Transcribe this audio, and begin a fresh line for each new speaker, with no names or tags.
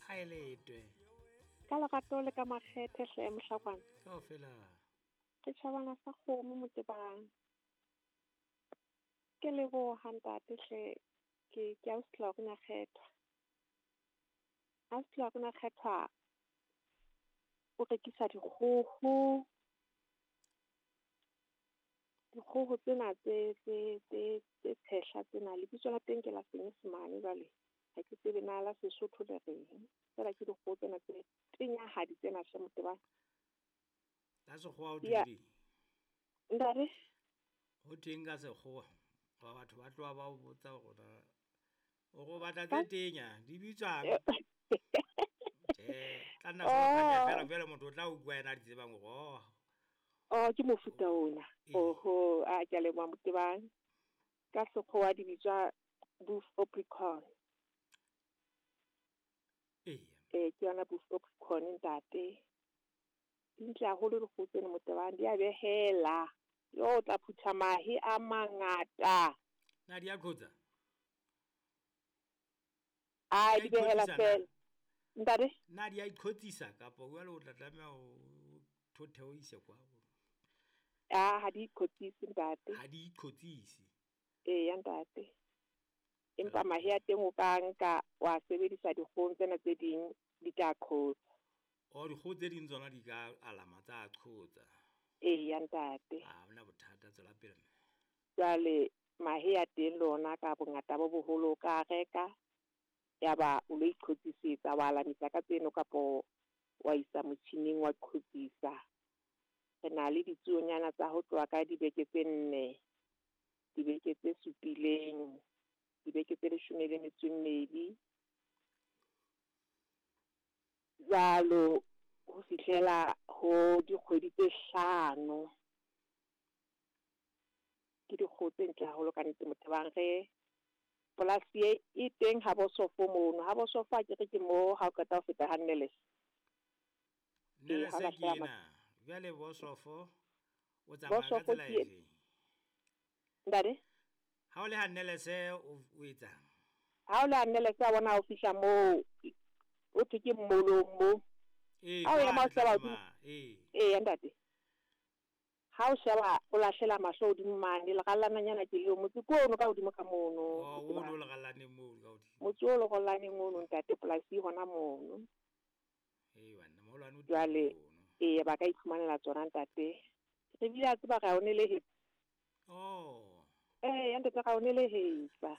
Ha e letwe.
Ka lerato le ka makgethe hle mohlakwana.
Kaofela.
Ke tjhabana sa kgomo motebang. Ke leboha ntate hle ke ausi Lorna Kgethwa. Ausi Lorna Kgethwa o rekisa dikgoho. Dikgoho tsena tse tse tse tse tshehla tsena lebitso la teng ke la Senyesemane jwale ha ke tsebe na la Sesotho le reng. Fela ke dikgoho tsena tse tenyahadi tsena hle motebang.
Ka sekgowa ho
Ya.
thweng?
Ntate?
Ho thweng ka sekgowa? Ba batho ba tloha ba o botsa hore na o re o batla tse tenya di bitswang? Tjhe, tla nna
Oh.
fela fela motho o tla utlwa yena a di tsebang hore oh.
Oh, ke mofuta ona.
Ee.
Oho, a ke a leboha motebang. Ka sekgowa di bitswa buff apricorn.
Eya.
Ee, ke yona buff apricorn ntate. Di ntle haholo dikgoho tsena motebang, di a behela. Yo o tla phutha mahe a mangata.
Na di a qhotsa?
A
Di a
di behela
iqhotsisa na?
fela. Ntate?
Na di a iqhotsisa kapa jwale o tla tlameha o thothe o ise kwa?
Ah, ha di iqhotsise ntate.
Ha di iqhotsise.
Eya ntate. Empa mahe a teng o ka nka wa sebedisa dikgohong tsena tse ding di tla qhotsa.
Oh, dikgoho tse ding tsona di ka alama tsa qhotsa.
Eya ntate.
Ha hona bothata, tswela pele mme.
Jwale mahe a teng le ona ka bongata bo boholo o ka reka ya ba o lo iqhotsisetsa wa alamisa ka tseno kapo wa isa motjhining wa qhotsisa. Re na le ditsuonyana tsa ho tloha ka dibeke tse 4, dibeke tse 7, dibeke tse 12. Jwalo ho fihlela ho dikgwedi tse 5. Ke dikgoho tse ntle haholo ka nnete motebang re polasi e e teng ha bosofo mono. Ha bosofo ha ke re ke mo ha o qeta ho feta ha Nneles. Ee,
Nneles
ha o
ke
lahlela
ena. Jwale bosofo o tsamaya ka
Bosofo
tsela
ke e-
efe?
Ntate?
Ha o le ha Nneles o etsang?
Ha o le ha Nneles a bona ha o fihla moo o thwe ke mmolong mo.
Ee,
Ha o ema o
kwana
sheba
tlase
hodimo.
ma, ee.
Eya ntate. Ha o sheba o lahlela mahlo hodimo mane lerallananyana ke leo motse ke ono ka hodimo ka mono.
Oh,
Motse
ono
ba.
lerallaneng moo ka hodimo.
Motse o lerallaneng ono ntate polasi hona mono.
Ee, banna moholwane o teng
Jwale
mono.
ee ba ka iphumanela tsona ntate. Re bile a tseba ra o nelehetsa.
Oh.
Ee, ntate ra o nelehetsa.